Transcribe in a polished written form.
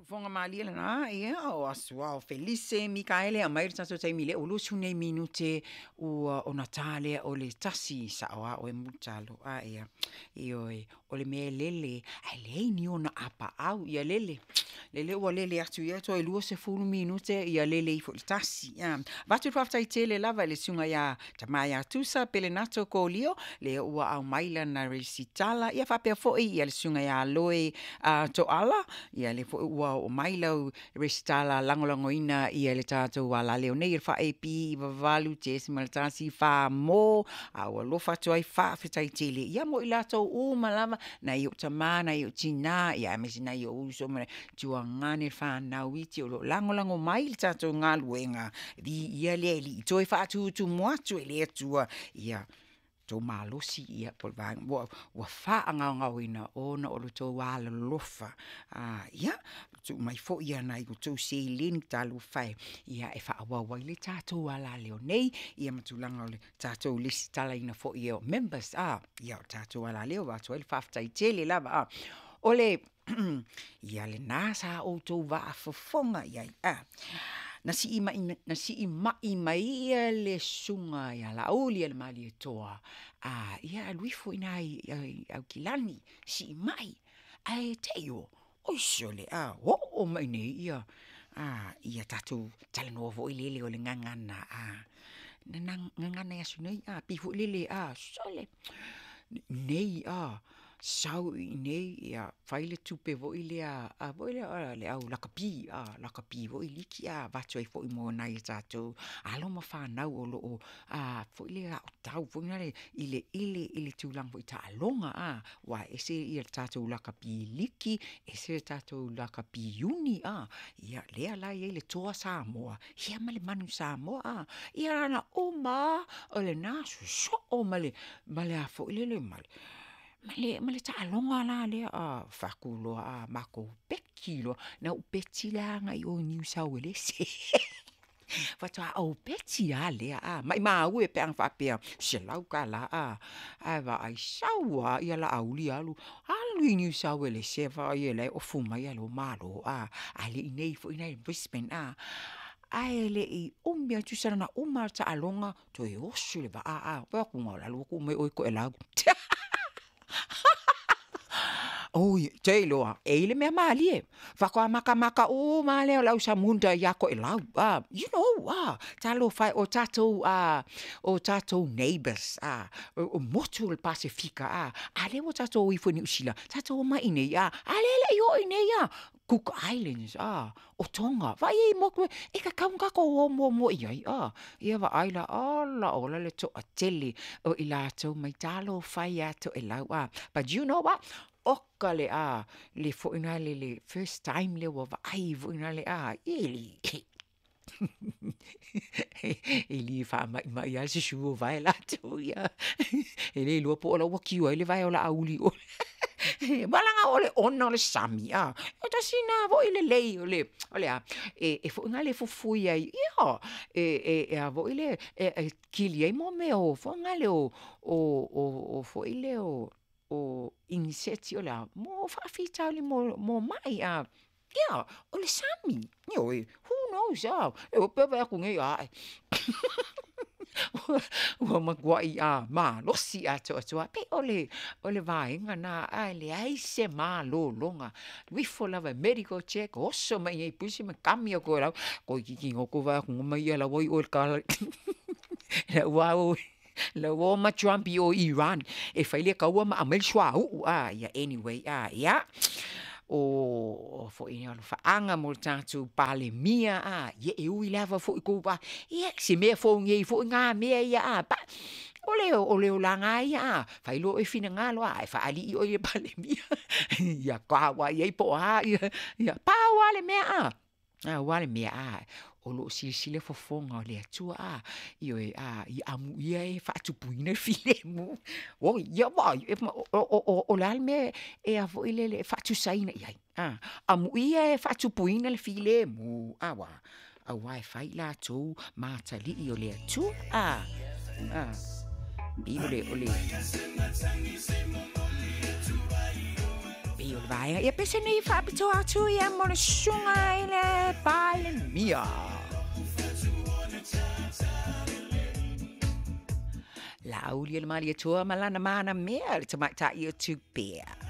Siufofoga malie lena, ia, o Asuao Felise Mikaele aumai le tatou taimi lea ua 20 nei minute ua ona ta lea o le 1 sao a oe Mulitalo. A ia, ioe, o le mea e lele, ae leai ni ona apaau, ia lele, lele ua lele atu ia toe 20 minute ia lele ifo i le 1. Ia, avatu le faafetai tele lava i le susuga ia Tama ia Tusa Pelenato Kolio, lea ua aumai lana resitala, ia faapea foi ia le susuga ia Loe Toala, ia lea foi ua oo mai lau resitala lagolagoina ia le tatou alaleo nei, le 4AP 98.1 Famo, a ua alofa atu ai faafetai tele ia mo i latou uma lava, nai ou tama, nai ou tina, ia aemaise nai ou uso ma tuagane whanau iti o lo lagolago mai le tatou galuega, viia le Alii, toe faatutumu atu e le Atua ia tou malosi ia po o le vaega ua faagaogaoina ona o lo outou alolofa. Ia, tuu mai foi nai outou seleni talofa e, ia e faaauau ai le tatou alaleo nei, ia ma tulaga o le tatou lesitalaina foi o members, ia o le tatou alaleo, e avatu ai le faafetai tele lava. O le ia lena sa outou vaafofoga i ai. Na sii mai mai le susuga ia Laauli ia le Malietoa, ia alu ifo i ina i Aukilani, sii mai, ae te i o, oi sole, oo mai nei ia, ia tatou talanoa foi lele o le gagana, gagana i aso nei, pei foi lele, sole, nei, sau i inei, ia, fai le tupe foi lea, foi lea le au lakapi, lakapi foi liki, avatu ai foi mo nai a tatou alo ma fanau o lo o foi lea aotau foi lea i le tulaga foi taaloga, aua e ese le tatou lakapi liki, ese le tatou lakapi iuni, ia lea la e i ai le Toa Samoa, ia ma le Manu Samoa, ia na uma lava o lena sosoo ma le a foi lele, ma le taaloga la lea, fai atu loa matou peki loa, na ou peti la agai i o i Niu Sauelese, faatoa ou peti lava lea, maimau e pe ana faapea e $100 ae vaai sau lava Laauli alu, alu i Niu Sauelese vaai o la e ofu mai ae loa malo ae le i inei foi la i Brisbane ae le i umi lava tusa na ona uma lava o le taaloga toe oso i le vaa, vaai atu o le a alu atu uma oe Toelau. Oi, ou te iloa e i ai le mea malie, faatoa matamata uma lava lea o le au Samunda ia Toelau, you know, talofa e, o tatou neighbours, o motu o le Pasefika, a lea ua tatou o ifo i Niu Sila, tatou omai i inei, a lea e le i oo i inei Cook Islands, o Tonga, vaai i ai motu e tatau ona tatou o muamua i ai, ia vaai la, ola ola le toatele o i latou mai, talofa e ia Toelau, but you know what, oka le le foi lena le first time lea ua vaai foi lena e le e le faamaimai lava le susu o vae latou ia. E le iloa po o la ua kiu ai le vae o Laauli i o. Leaga o le ona o le sami, e tasi lena foi lelei o le, o le a, e foi lena le fufui ai, ia, e a foi le, e kili ai mo mea o foi lea o foi lea o iniseti o le a, mo faafitauli mo mai. Ia, o le sami, ioe, who knows, e pe vaai atu nei, ae, ua matuai malosi atoatoa, pei o le vaega lena, ae leai se malologa, alu ifo lava e medical check, oso mai i inei i Brisbane ma kami atu e lau, toeitiiti goto vaai atu ma ia la ua i oe i le la ua la ua o ma Trump i o i Iran e fai le taua ma aumai le suauu, ia anyway, ia, o foi ni alofaaga mo le tatou Palemia, ia e ui lava foi tou ia se mea fou nei foi na mea ia, o le olaga lava ia, fai loa oe finagalo, ae faalii oe i le Palemia, ia tauai ai po o a, ia pau lava le mea, pau lava le mea, o lo o silasila fofoga o le Atua, ioe, ia amuia e faatupuina le filemu. Oi, ia vaai, o le a le mea e a foi lele e faatusaina i ai, amuia e faatupuina le filemu, aua, aua e fai latou ma atalii o le Atua. Pei o le, o le, Pei o le vaega ia pese nei faapitoa atu ia mo le susuga i le Palemia. Laauli e le Malietoa ma lana mana mea le tamaitai o Tupea.